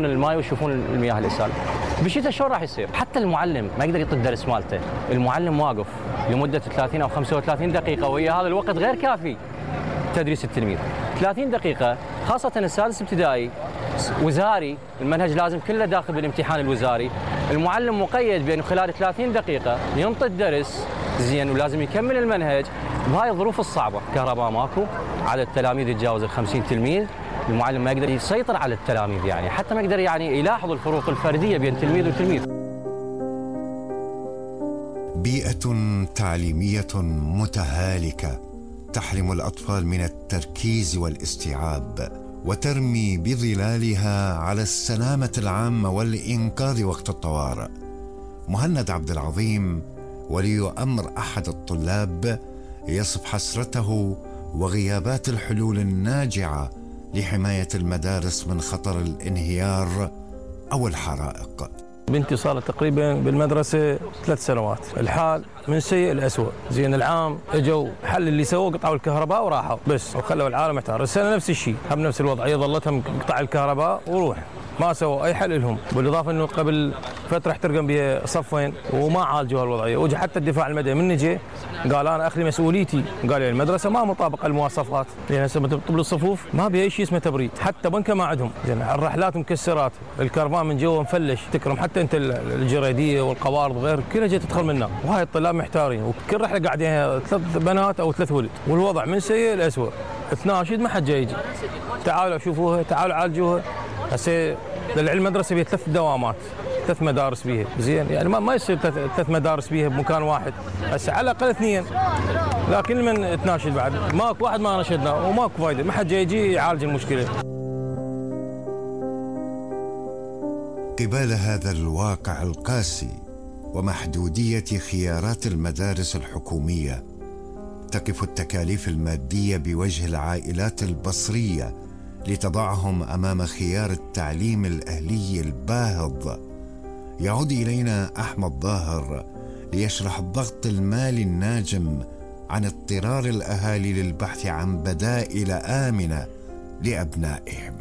الماي ويشوفون المياه اللي سالت. بالشتاء شلون راح يصير؟ حتى المعلم ما يقدر يعطي الدرس مالته، المعلم واقف لمده 30 او 35 دقيقه، ويا هذا الوقت غير كافي تدريس التلميذ. 30 دقيقه خاصه السادس ابتدائي وزاري، المنهج لازم كله داخل بالامتحان الوزاري، المعلم مقيد بانه خلال 30 دقيقه ينطي الدرس زين ولازم يكمل المنهج بهاي الظروف الصعبه، كهرباء ماكو، عدد التلاميذ يتجاوز ال 50 تلميذ، المعلم ما يقدر يسيطر على التلاميذ، يعني حتى ما يقدر يلاحظ الفروق الفرديه بين تلميذ وتلميذ. بيئة تعليمية متهالكة تحرم الأطفال من التركيز والاستيعاب وترمي بظلالها على السلامة العامة والإنقاذ وقت الطوارئ. مهند عبد العظيم ولي أمر أحد الطلاب يصف حسرته وغيابات الحلول الناجعة لحماية المدارس من خطر الانهيار أو الحرائق. بنتي صارت تقريبا بالمدرسة 3 سنوات، الحال من سيء لأسوأ. زين العام اجوا حل اللي سووه، قطعوا الكهرباء وراحوا بس وخلوا العالم محتار. السنة نفس الشيء، هم نفس الوضعية، ظلتهم قطع الكهرباء وروح، ما سووا اي حل لهم، بالاضافه انه قبل فتره احترقن بها صفين وما عالجوا هالوضعيه، وجا حتى الدفاع المدني من نجي قال انا اخلي مسؤوليتي، قال لي المدرسه ما مطابقه المواصفات، لان هسه طبل الصفوف ما بها اي شيء اسمه تبريد، حتى بنكه ما عندهم، زين الرحلات مكسرات، الكرفان من جوا مفلش، تكرم حتى انت الجريديه والقوارض غير كلها جاي تدخل منها، وهاي الطلاب محتارين، وكل رحله قاعدين 3 بنات او 3 ولد، والوضع من سيء لاسوء. تناشد ما حد جاي يجي، تعالوا شوفوها، تعالوا عالجوها. هسه للعلم مدرسه بها 3 دوامات، 3 مدارس بيها، زين يعني ما يصير 3 مدارس بيها بمكان واحد، هسه على الاقل 2، لكن من تناشد بعد ماكو واحد ما نشدنا وماكو فايده، ما حد جاي يجي يعالج المشكله. قبال هذا الواقع القاسي ومحدوديه خيارات المدارس الحكوميه، تقف التكاليف الماديه بوجه العائلات البصريه لتضعهم أمام خيار التعليم الأهلي الباهظ. يعود إلينا أحمد ظاهر ليشرح الضغط المالي الناجم عن اضطرار الأهالي للبحث عن بدائل آمنة لأبنائهم.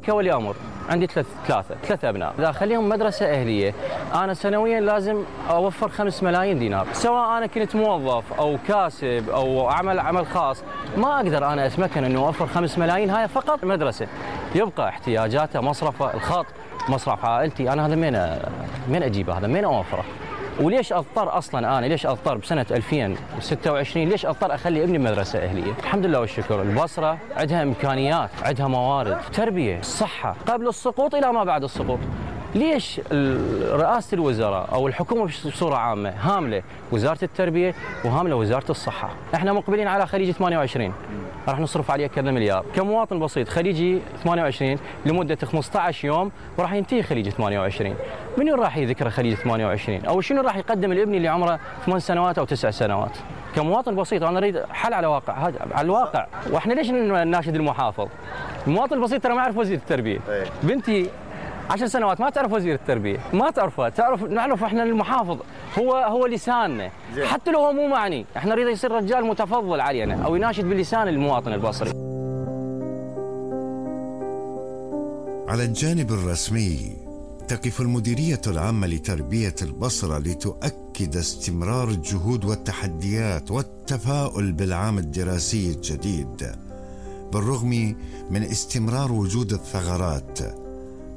كولي أمر عندي 3 أبناء، إذا أخليهم مدرسة أهلية أنا سنويا لازم أوفر 5 ملايين دينار، سواء أنا كنت موظف أو كاسب أو أعمل عمل خاص، ما أقدر أنا أتمكن أنه أوفر 5 ملايين هاي فقط مدرسة. يبقى احتياجاته، مصرفه، الخط، مصرف عائلتي، أنا هذا من أجيبه، هذا من أوفره؟ وليش اضطر اصلا انا ليش اضطر بسنه 2026 ليش اضطر اخلي ابني بمدرسه اهليه؟ الحمد لله والشكر البصره عندها امكانيات، عندها موارد، تربيه، صحه قبل السقوط الى ما بعد السقوط. ليش رئاسه الوزراء او الحكومه بصوره عامه هامله وزاره التربيه وهامله وزاره الصحه؟ احنا مقبلين على خليج 28 راح نصرف عليه كذا مليار، كمواطن بسيط خليجي 28 لمده 15 يوم وراح ينتهي خليج 28. من راح يذكر خليج 28 او شنو راح يقدم لابني اللي عمره 8 سنوات او 9 سنوات؟ كمواطن بسيط انا اريد حل على واقع، هذا على الواقع. واحنا ليش نناشد المحافظ؟ المواطن البسيط ترى ما يعرف وزير التربيه. بنتي 10 سنوات ما تعرف وزير التربيه، ما تعرفه، نعرف احنا المحافظ هو لساننا، حتى لو هو مو معني، احنا نريد يصير رجال متفضل علينا او يناشد بلسان المواطن البصري. على الجانب الرسمي تقف المديرية العامة لتربية البصرة لتؤكد استمرار الجهود والتحديات والتفاؤل بالعام الدراسي الجديد بالرغم من استمرار وجود الثغرات.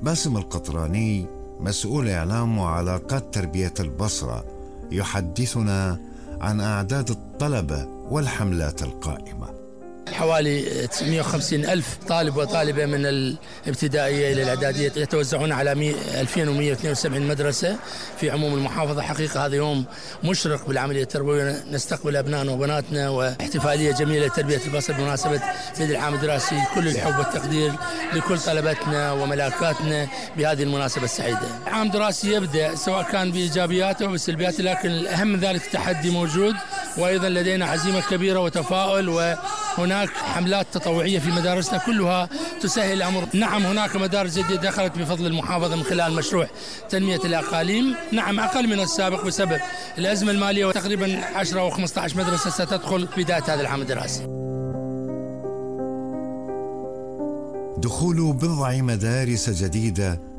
باسم القطراني مسؤول إعلام وعلاقات تربية البصرة يحدثنا عن أعداد الطلبة والحملات القائمة. حوالي 950 ألف طالب وطالبة من الابتدائية إلى الإعدادية يتوزعون على 2172 مدرسة في عموم المحافظة. حقيقة هذا يوم مشرق بالعملية التربوية، نستقبل أبنائنا وبناتنا واحتفالية جميلة لتربية البصر بمناسبة بدء العام الدراسي. كل الحب والتقدير لكل طلبتنا وملاكاتنا بهذه المناسبة السعيدة. عام دراسي يبدأ سواء كان بإيجابياته أو بسلبياته، لكن الأهم من ذلك التحدي موجود، وأيضا لدينا عزيمة كبيرة وتفاؤل، وهناك حملات تطوعية في مدارسنا كلها تسهل الأمر. نعم هناك مدارس جديدة دخلت بفضل المحافظة من خلال مشروع تنمية الأقاليم، نعم أقل من السابق بسبب الأزمة المالية، وتقريبا 10 أو 15 مدرسة ستدخل بداية هذا العام الدراسي. دخول بضع مدارس جديدة